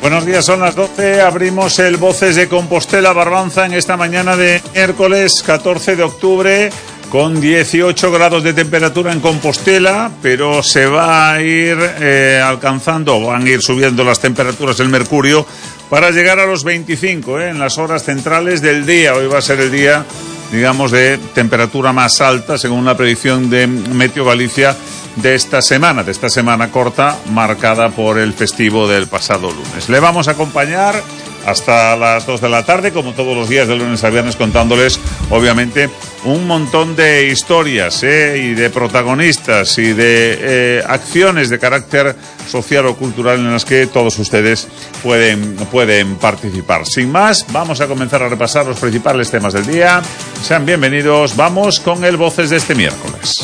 Buenos días, son las 12, abrimos el Voces de Compostela Barbanza en esta mañana de miércoles 14 de octubre con 18 grados de temperatura en Compostela, pero se va a ir van a ir subiendo las temperaturas del mercurio para llegar a los 25 en las horas centrales del día. Hoy va a ser el día, digamos, de temperatura más alta, según la predicción de Meteo Galicia de esta semana corta, marcada por el festivo del pasado lunes. Le vamos a acompañar hasta las 2 de la tarde, como todos los días de lunes a viernes, contándoles, obviamente, un montón de historias y de protagonistas y de acciones de carácter social o cultural en las que todos ustedes pueden participar. Sin más, vamos a comenzar a repasar los principales temas del día. Sean bienvenidos, vamos con el Voces de este miércoles.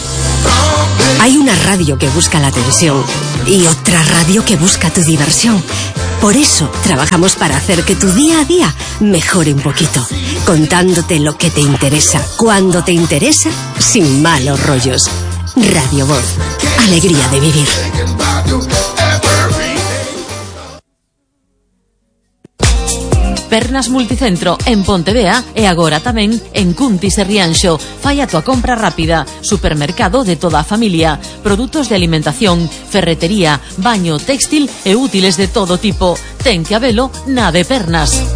Hay una radio que busca la atención y otra radio que busca tu diversión. Por eso trabajamos para hacer que tu día a día mejore un poquito, contándote lo que te interesa, cuando te interesa, sin malos rollos. Radio Voz, alegría de vivir. Pernas Multicentro en Pontevea e agora tamén en Cuntis e Rianxo. Fai a tua compra rápida. Supermercado de toda a familia. Produtos de alimentación, ferretería, baño, textil e útiles de todo tipo. Ten que habelo na de Pernas.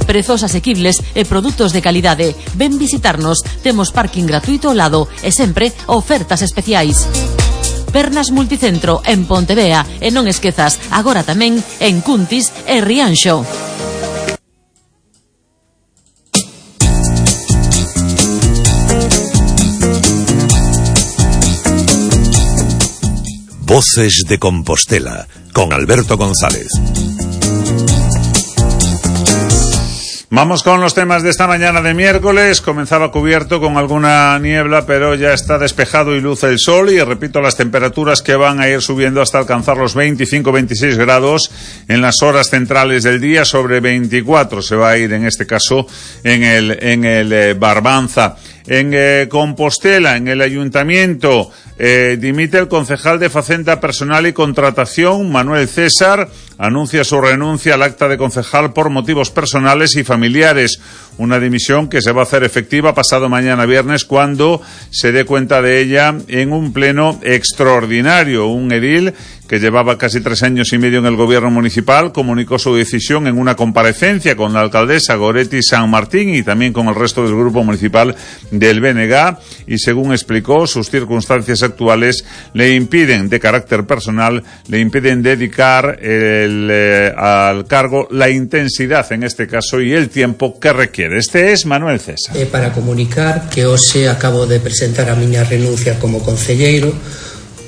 Prezos asequibles e produtos de calidade. Ven visitarnos. Temos parking gratuito ao lado e sempre ofertas especiais. Pernas Multicentro en Pontevea e non esquezas, agora tamén en Cuntis e Rianxo. Voces de Compostela, con Alberto González. Vamos con los temas de esta mañana de miércoles. Comenzaba cubierto con alguna niebla, pero ya está despejado y luce el sol. Y repito, las temperaturas que van a ir subiendo hasta alcanzar los 25-26 grados en las horas centrales del día. Sobre 24 se va a ir, en este caso, en el Barbanza. En Compostela, en el ayuntamiento, dimite el concejal de Facenda Personal y Contratación, Manuel César, anuncia su renuncia al acta de concejal por motivos personales y familiares. Una dimisión que se va a hacer efectiva pasado mañana viernes, cuando se dé cuenta de ella en un pleno extraordinario. Un edil que llevaba casi 3 años y medio en el gobierno municipal comunicó su decisión en una comparecencia con la alcaldesa Goretti San Martín y también con el resto del grupo municipal del BNG, y según explicó, sus circunstancias actuales le impiden, de carácter personal, le impiden dedicar al cargo la intensidad, en este caso, y el tiempo que requiere. Este es Manuel César. Para comunicar que hoxe acabo de presentar a miña renuncia como concelleiro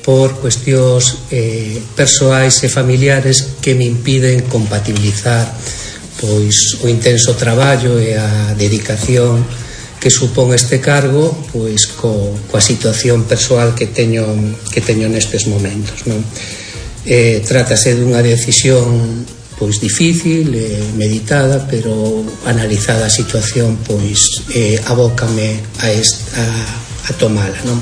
por cuestións persoais e familiares que me impiden compatibilizar pois o intenso traballo e a dedicación que supón este cargo pois coa situación persoal que teño nestes momentos, non? Trátase dunha decisión pois difícil, meditada, pero analizada a situación, pois abócame a tomala, non?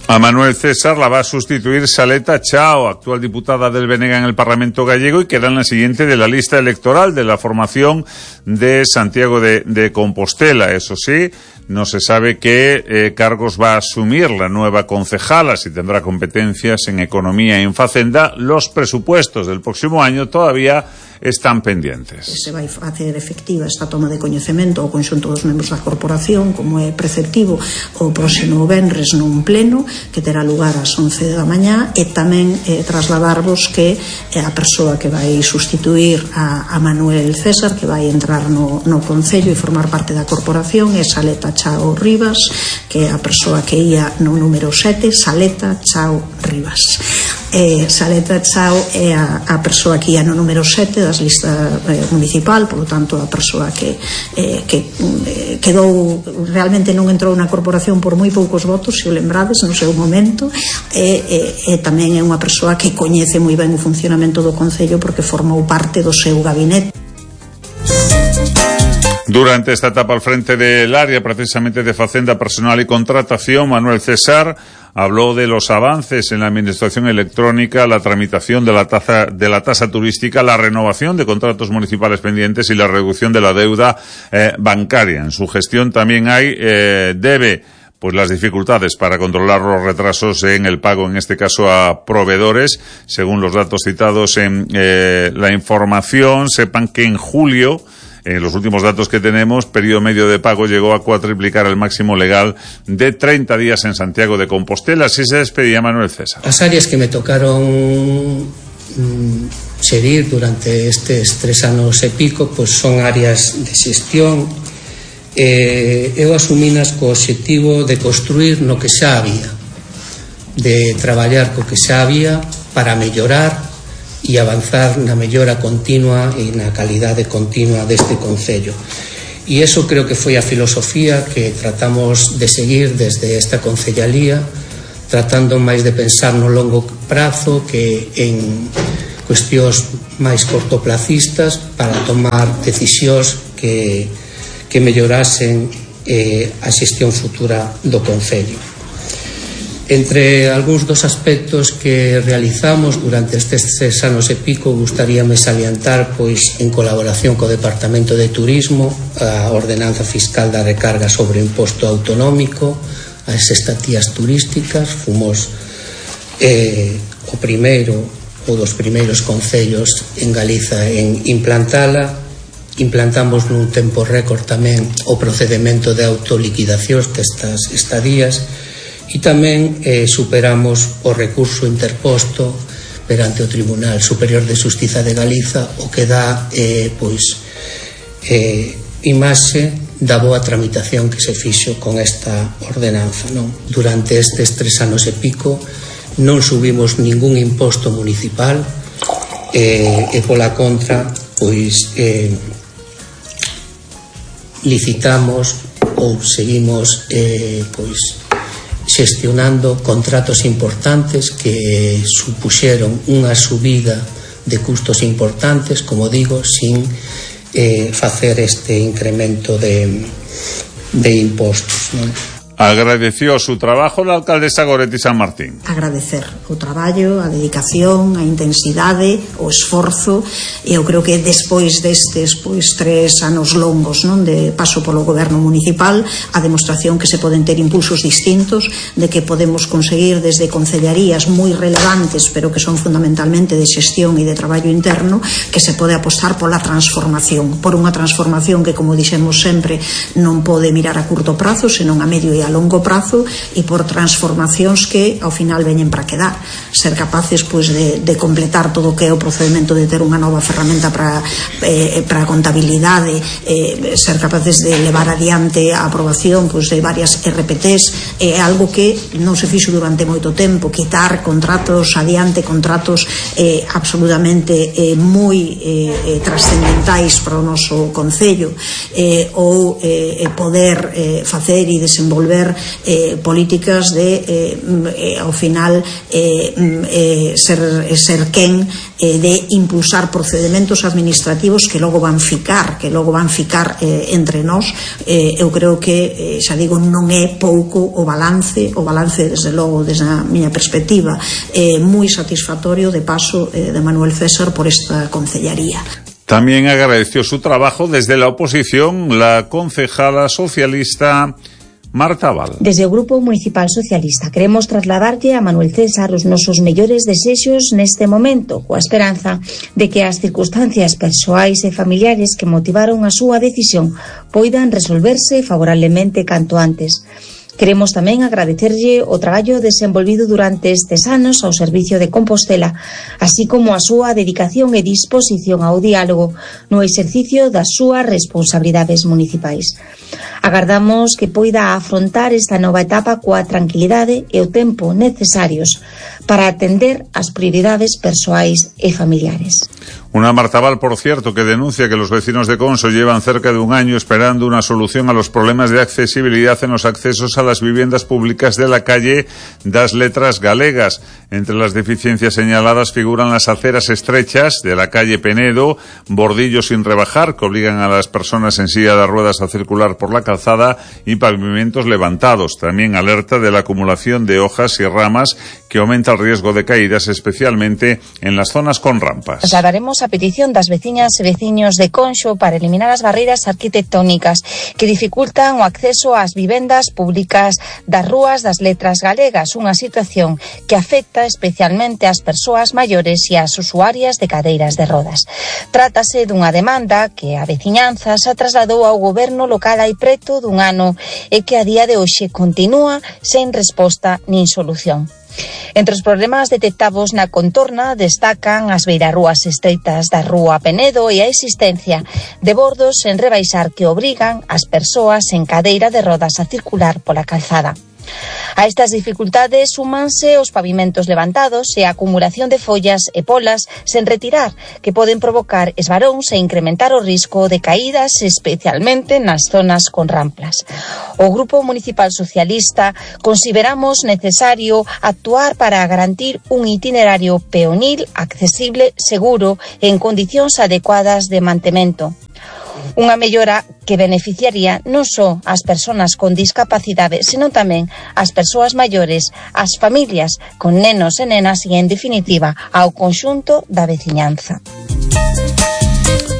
A Manuel César la va a sustituir Saleta Chao, actual diputada del BNG en el Parlamento gallego, y queda en la siguiente de la lista electoral de la formación de Santiago de Compostela. Eso sí, no se sabe qué cargos va a asumir la nueva concejala, si tendrá competencias en economía y en facenda. Los presupuestos del próximo año todavía están pendientes. Se vai facer efectiva esta toma de coñecemento ao conxunto dos membros da corporación, como é preceptivo, o próximo venres nun pleno que terá lugar ás 11 da mañá, e tamén trasladarvos que a persoa que vai sustituir a Manuel César, que vai entrar no Concello e formar parte da corporación, é Saleta Chao Rivas, que é a persoa que ia no número 7, Saleta Chao Rivas. Saleta Chao é a persoa que ia no número 7 das listas municipal, polo tanto a persoa que quedou, realmente non entrou na corporación por moi poucos votos, se o lembrades, no seu momento, e tamén é unha persoa que coñece moi ben o funcionamento do Concello porque formou parte do seu gabinete. Durante esta etapa al frente del área, precisamente de Facenda, Personal y Contratación, Manuel César habló de los avances en la administración electrónica, la tramitación de la tasa turística, la renovación de contratos municipales pendientes y la reducción de la deuda bancaria. En su gestión también debe las dificultades para controlar los retrasos en el pago, en este caso a proveedores. Según los datos citados en la información, sepan que en julio, en los últimos datos que tenemos, periodo medio de pago llegó a cuatriplicar el máximo legal de 30 días en Santiago de Compostela. Así se despedía Manuel César. As áreas que me tocaron xerir durante estes 3 anos e pico son áreas de xestión. Eu asumínas co obxectivo de construir no que xa había, de traballar co que xa había para mellorar e avanzar na mellora continua e na calidade continua deste concello. E iso creo que foi a filosofía que tratamos de seguir desde esta concellalía, tratando máis de pensar no longo prazo que en cuestións máis cortoplacistas para tomar decisións que mellorasen a xestión futura do concello. Entre algúns dos aspectos que realizamos durante estes 3 anos e pico, gustaríame salientar, en colaboración co Departamento de Turismo, a ordenanza fiscal da recarga sobre o imposto autonómico, as estatías turísticas. Fomos o primeiro ou dos primeiros concellos en Galiza en implantala. Implantamos nun tempo récord tamén o procedemento de autoliquidacións destas estadías e tamén superamos o recurso interposto perante o Tribunal Superior de Xustiza de Galiza, o que dá imaxe da boa tramitación que se fixo con esta ordenanza. Durante estes 3 anos e pico non subimos ningún imposto municipal e pola contra licitamos ou seguimos xestionando contratos importantes que supuxeron unha subida de custos importantes, como digo, sin facer este incremento de impostos, non? Agradeció su trabajo la alcaldesa Goretti San Martín. Agradecer o traballo, a dedicación, a intensidade, o esforzo, e eu creo que despois destes 3 anos longos de paso polo goberno municipal, a demostración que se poden ter impulsos distintos, de que podemos conseguir desde concellarías moi relevantes, pero que son fundamentalmente de xestión e de traballo interno, que se pode apostar pola transformación, por unha transformación que, como dixemos sempre, non pode mirar a curto prazo, senón a medio e a longo prazo, e por transformacións que ao final veñen para quedar, ser capaces de completar todo o que é o procedimento de ter unha nova ferramenta para a contabilidade, ser capaces de levar adiante a aprobación de varias RPTs, é algo que non se fixo durante moito tempo. Quitar contratos adiante, contratos absolutamente moi trascendentais para o noso concello, ou poder facer e desenvolver políticas de ao final ser quen de impulsar procedimentos administrativos que logo van ficar entre nós. Eu creo que, xa digo, non é pouco o balance desde logo, desde a miña perspectiva, moi satisfactorio de paso de Manuel César por esta concellaría. También agradeció su trabajo desde la oposición la concejala socialista Marta Val. Desde o Grupo Municipal Socialista queremos trasladarlle a Manuel César os nosos mellores desexos neste momento, coa esperanza de que as circunstancias persoais e familiares que motivaron a súa decisión poidan resolverse favorablemente canto antes. Queremos tamén agradecerlle o traballo desenvolvido durante estes anos ao servicio de Compostela, así como a súa dedicación e disposición ao diálogo no exercicio das súas responsabilidades municipais. Agardamos que poida afrontar esta nova etapa coa tranquilidade e o tempo necesarios para atender as prioridades persoais e familiares. Una Martaval, por cierto, que denuncia que los vecinos de Conso llevan cerca de un año esperando una solución a los problemas de accesibilidad en los accesos a las viviendas públicas de la calle das Letras Galegas. Entre las deficiencias señaladas figuran las aceras estrechas de la calle Penedo, bordillos sin rebajar que obligan a las personas en silla de ruedas a circular por la calzada y pavimentos levantados. También alerta de la acumulación de hojas y ramas que aumenta el riesgo de caídas, especialmente en las zonas con rampas. Nos hablaremos a petición das veciñas e veciños de Conxo para eliminar as barreiras arquitectónicas que dificultan o acceso ás vivendas públicas das rúas das Letras Galegas, unha situación que afecta especialmente ás persoas maiores e ás usuarias de cadeiras de rodas. Trátase dunha demanda que a veciñanza xa trasladou ao goberno local hai preto dun ano e que a día de hoxe continúa sen resposta nin solución. Entre os problemas detectados na contorna destacan as beirarrúas estreitas da rúa Penedo e a existencia de bordos sen rebaixar que obrigan as persoas en cadeira de rodas a circular pola calzada. A estas dificultades súmanse os pavimentos levantados e a acumulación de follas e polas sen retirar que poden provocar esvaróns e incrementar o risco de caídas, especialmente nas zonas con ramplas. O Grupo Municipal Socialista consideramos necesario actuar para garantir un itinerario peonil accesible, seguro e en condicións adecuadas de mantemento. Unha mellora que beneficiaría non só as persoas con discapacidade, senón tamén as persoas maiores, as familias con nenos e nenas e, en definitiva, ao conxunto da veciñanza.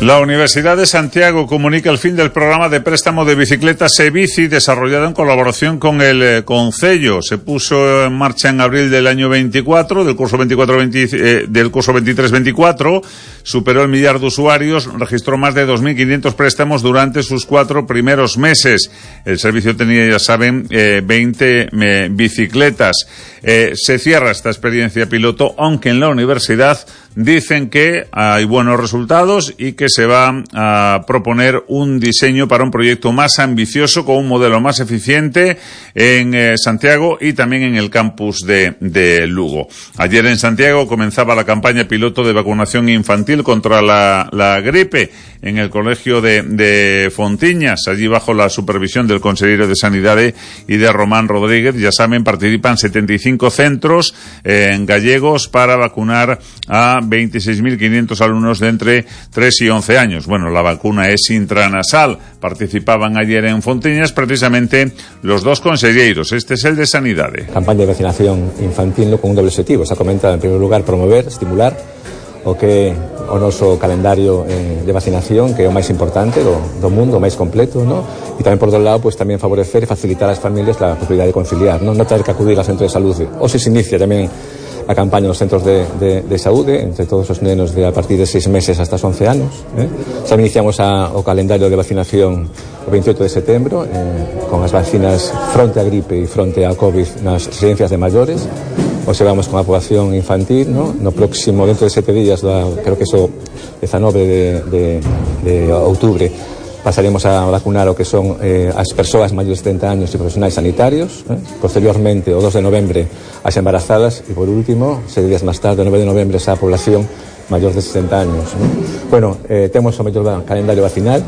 La Universidad de Santiago comunica el fin del programa de préstamo de bicicletas e-bici desarrollado en colaboración con el Concello. Se puso en marcha en abril del año 24, del curso 23-24, superó el millar de usuarios, registró más de 2.500 préstamos durante sus 4 primeros meses. El servicio tenía, ya saben, 20 bicicletas. Se cierra esta experiencia piloto, aunque en la universidad dicen que hay buenos resultados y que se va a proponer un diseño para un proyecto más ambicioso con un modelo más eficiente en Santiago y también en el campus de Lugo. Ayer en Santiago comenzaba la campaña piloto de vacunación infantil contra la gripe en el colegio de Fontiñas, allí bajo la supervisión del consejero de Sanidade y de Román Rodríguez. Ya saben, participan 75 centros gallegos para vacunar a 26.500 alumnos de entre 3 y 11 años. Bueno, la vacuna es intranasal. Participaban ayer en Fontiñas precisamente los dos conselleiros. Este es el de Sanidade. Campaña de vacinación infantil con un doble objetivo. Se ha comentado, en primer lugar, promover, estimular o noso calendario de vacinación, que é o máis importante do mundo, o máis completo, ¿no? E tamén, por outro lado, pues tamén favorecer e facilitar ás familias a posibilidad de conciliar, non ter que acudir ao centro de saúde. O se inicia tamén a campaña nos centros de saúde entre todos os nenos a partir de 6 meses hasta os 11 anos. Xa iniciamos o calendario de vacinación o 28 de setembro con as vacinas fronte a gripe e fronte a COVID nas residencias de maiores. Hoxe vamos con a poboación infantil, ¿no? No próximo, dentro de 7 días, creo que eso 19 de outubro, pasaremos a vacunar o que son as persoas maiores de 70 años e profesionais sanitarios. Posteriormente, o 2 de novembre, as embarazadas e, por último, 7 días máis tarde, o 9 de novembre, a población maior de 60 años, ¿no? Bueno, temos o mellor calendario vacinal,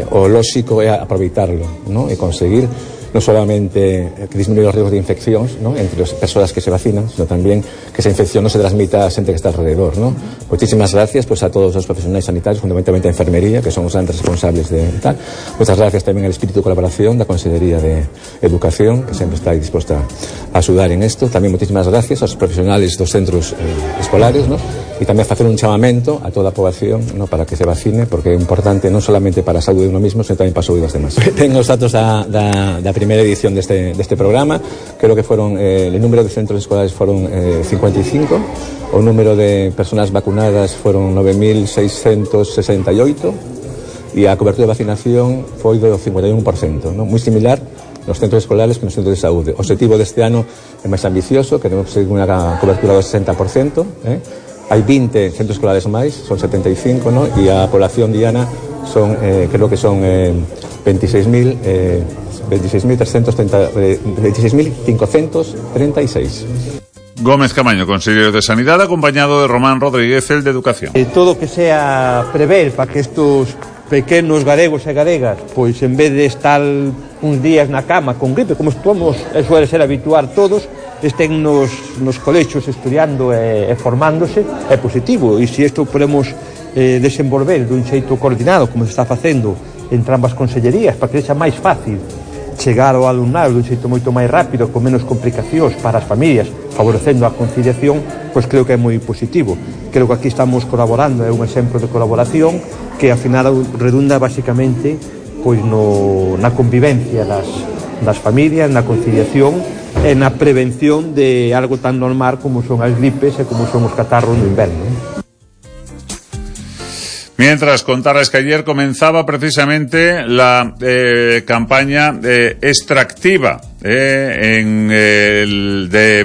o lóxico é aproveitarlo, ¿no? E conseguir non solamente que disminuir os riesgos de infeccións, ¿no? Entre as persoas que se vacinan, sino tamén que esa infección non se transmita a xente que está alrededor, ¿no? Muchísimas gracias pues, a todos os profesionais sanitarios, fundamentalmente a enfermería, que son os grandes responsables de tal. Muchas gracias tamén al espíritu de colaboración da Consellería de Educación, que sempre está disposta a axudar en isto. Tamén muchísimas gracias aos profesionales dos centros escolares, ¿no? E tamén facer un chamamento a toda a poboación, ¿no? Para que se vacine, porque é importante non solamente para a saúde de uno mismo, sino tamén para a saúde dos demás. Tengo os datos da primeira edición deste programa. Creo que foron el número de centros escolares foron 55, o número de personas vacunadas foron 9.668 e a cobertura de vacinación foi do 51%, ¿no? Moi similar nos centros escolares que nos centros de saúde. O objetivo deste ano é máis ambicioso, queremos conseguir unha cobertura do 60%, Hai 20 centros escolares máis, son 75, ¿no? E a población diana son, creo que son 26.536. Gómez Camaño, conselleiro de Sanidade, acompañado de Román Rodríguez, el de Educación. Todo que sea prever para que estos pequenos galegos e galegas, pois en vez de estar uns días na cama con gripe, como estamos, suele ser habituar todos, estén nos colexios estudiando e formándose, é positivo. E se isto podemos desenvolver dun xeito coordinado, como se está facendo entre ambas consellerías, para que sexa máis fácil chegar ao alumnado dun xeito moito máis rápido, con menos complicacións para as familias, favorecendo a conciliación, pois creo que é moi positivo. Creo que aquí estamos colaborando, é un exemplo de colaboración que ao final redunda basicamente pois na convivencia das familias, na conciliación e na prevención de algo tan normal como son as gripes e como son os catarros no inverno. Mientras contarles que ayer comenzaba precisamente la campaña extractiva de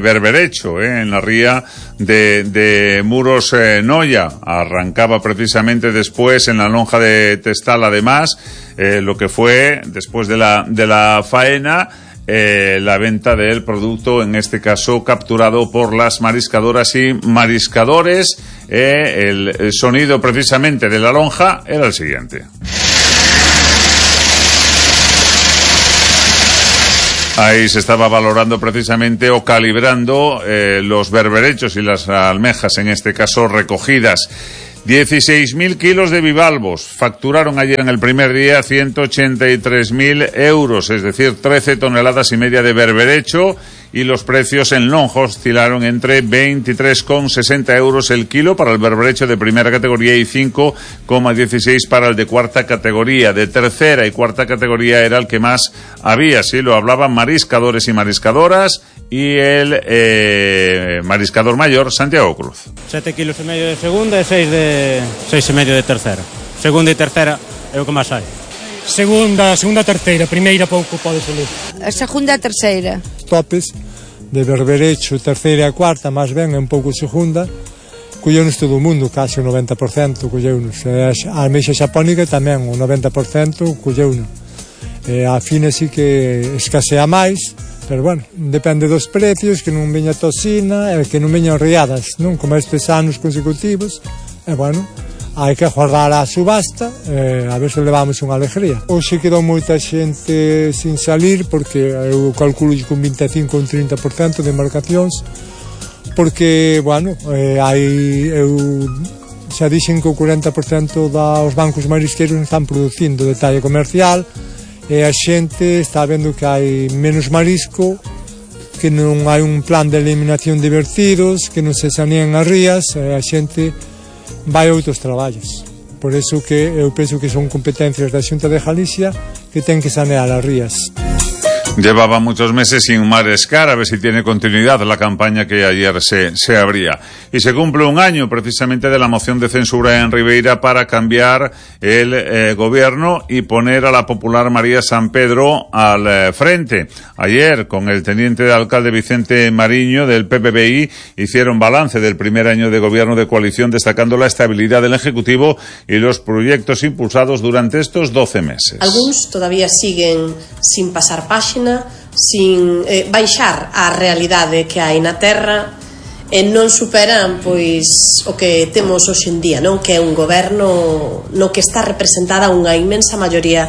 Berberecho, en la ría de Muros Noia. Arrancaba precisamente después en la lonja de Testal, además, lo que fue después de la faena, la venta del producto, en este caso capturado por las mariscadoras y mariscadores. El sonido precisamente de la lonja era el siguiente. Ahí se estaba valorando precisamente o calibrando los berberechos y las almejas, en este caso recogidas. 16.000 kilos de bivalvos facturaron ayer en el primer día 183.000 euros, es decir, 13 toneladas y media de berberecho, y los precios en lonja oscilaron entre 23,60 euros el kilo para el berberecho de primera categoría y 5,16 para el de cuarta categoría. De tercera y cuarta categoría era el que más había, sí, lo hablaban mariscadores y mariscadoras, y el mariscador mayor, Santiago Cruz. 7,5 kilos de segunda e 6,5 de tercera. Segunda e tercera é o que máis hai. Segunda, terceira, primeira pouco pode salir. A segunda e terceira. Topes de berberecho, terceira e cuarta, máis ben, é un pouco segunda. Colleunos todo o mundo, case o 90% colleunos. A almexa xapónica tamén, o 90% colleunos. A fina sí que escasea máis, pero bueno, depende dos precios, que non veña toxina e que non veñan riadas, non? Como estes anos consecutivos, e bueno, hai que agardar a subasta, a ver se levamos unha alegría. Hoxe quedou moita xente sin salir, porque eu calculo con 25 ou 30% de embarcacións, porque, bueno, eu xa dixen que o 40% dos bancos marisqueiros están producindo de talla comercial, e a xente está vendo que hai menos marisco, que non hai un plan de eliminación de vertidos, que non se sanean as rías, e a xente vai a outros traballos. Por eso que eu penso que son competencias da Xunta de Galicia que ten que sanear as rías. Llevaba muchos meses sin mariscar, a ver si tiene continuidad la campaña que ayer se abría. Y se cumple un año precisamente de la moción de censura en Ribeira para cambiar el gobierno y poner a la popular María San Pedro al frente. Ayer, con el teniente de alcalde Vicente Mariño del PPBI, hicieron balance del primer año de gobierno de coalición, destacando la estabilidad del Ejecutivo y los proyectos impulsados durante estos 12 meses. Algunos todavía siguen sin pasar página, sin baixar a realidade que hai na terra, e non superan pois o que temos hoxe en día, non? Que é un goberno no que está representada unha inmensa maioría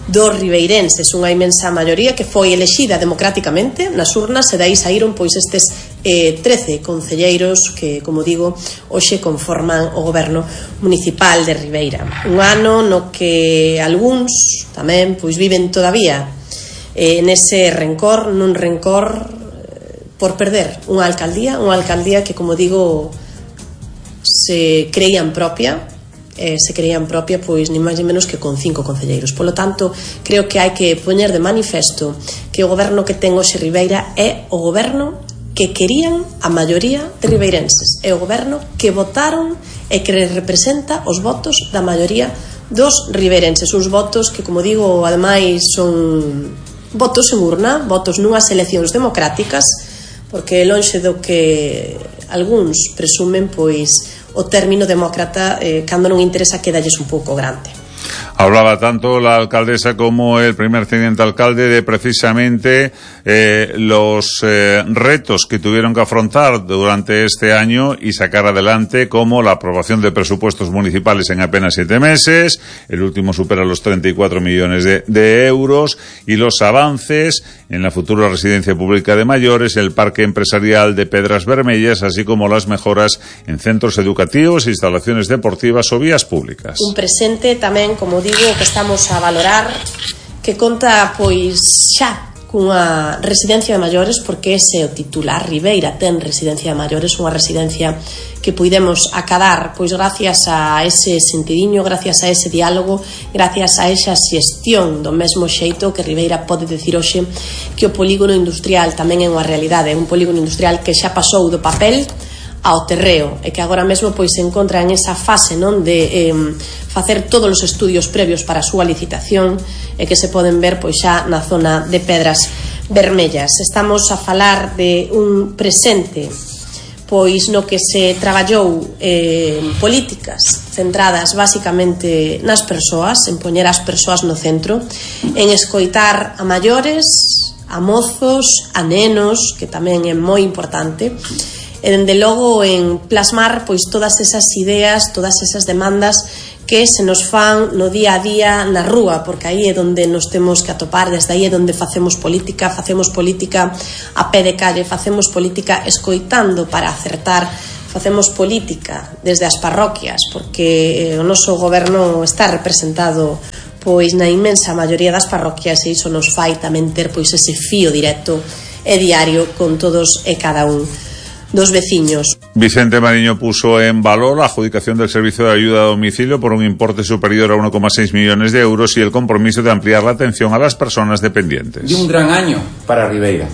dos ribeirenses, unha inmensa maioría que foi elexida democráticamente nas urnas, e dai saíron pois estes 13 concelleiros que, como digo, hoxe conforman o goberno municipal de Ribeira. Un ano no que algúns tamén pois viven todavía nese rencor, nun rencor por perder unha alcaldía que, como digo, se creían propia, pois ni máis ni menos que con 5 concelleiros. Polo tanto, creo que hai que poñer de manifesto que o goberno que ten hoxe Ribeira é o goberno que querían a maioría de ribeirenses, é o goberno que votaron e que representa os votos da maioría dos ribeirenses, uns votos que, como digo, ademais son votos en urna, votos nunhas eleccións democráticas, porque lonxe do que algúns presumen, pois o término demócrata, cando non interesa, quedalles un pouco grande. Hablaba tanto la alcaldesa como el primer teniente alcalde de precisamente los retos que tuvieron que afrontar durante este año y sacar adelante, como la aprobación de presupuestos municipales en apenas 7 meses, el último supera los 34 millones de euros, y los avances en la futura residencia pública de mayores, el parque empresarial de Pedras Vermellas, así como las mejoras en centros educativos, instalaciones deportivas o vías públicas. Un presente tamén, como digo, que estamos a valorar, que conta pois xa cunha residencia de maiores, porque ese é o titular. Ribeira ten residencia de maiores, unha residencia que puidemos acadar pois gracias a ese sentidiño, gracias a ese diálogo, gracias a esa xestión, do mesmo xeito que Ribeira pode decir hoxe que o polígono industrial tamén é unha realidade, un polígono industrial que xa pasou do papel ao terreo e que agora mesmo pois se encontra en esa fase, non, de facer todos os estudios previos para a súa licitación e que se poden ver pois xa na zona de Pedras Vermellas. Estamos a falar de un presente pois no que se traballou políticas centradas basicamente nas persoas, en poñer as persoas no centro, en escoitar a maiores, a mozos, a nenos, que tamén é moi importante, e dende logo en plasmar pois todas esas ideas, todas esas demandas que se nos fan no día a día na rúa, porque aí é onde nos temos que atopar, desde aí é onde facemos política a pé de calle, facemos política escoitando para acertar, facemos política desde as parroquias, porque o noso goberno está representado pois na inmensa maioría das parroquias, e iso nos fai tamén ter pois ese fío directo e diario con todos e cada un dos veciños. Vicente Mariño puso en valor la adjudicación del servicio de ayuda a domicilio por un importe superior a 1,6 millones de euros y el compromiso de ampliar la atención a las personas dependientes. De un gran año para Ribeira.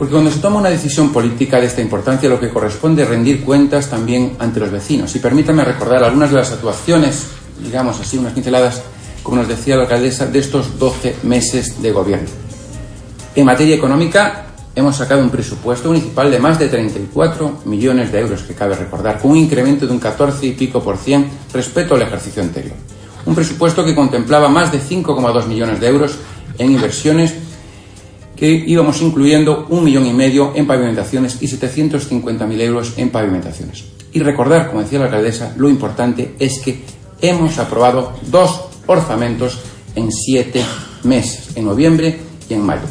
Porque cuando se toma una decisión política de esta importancia, lo que corresponde es rendir cuentas también ante los vecinos. Y permítame recordar algunas de las actuaciones, digamos así, unas pinceladas, como nos decía la alcaldesa, de estos 12 meses de gobierno. En materia económica, hemos sacado un presupuesto municipal de más de 34 millones de euros, que cabe recordar, con un incremento de un 14 y pico % respecto al ejercicio anterior. Un presupuesto que contemplaba más de 5,2 millones de euros en inversiones, que íbamos incluyendo 1,5 millones en pavimentaciones y 750.000 euros en pavimentaciones. Y recordar, como decía la alcaldesa, lo importante es que hemos aprobado 2 orzamentos en 7 meses, en noviembre y en mayo.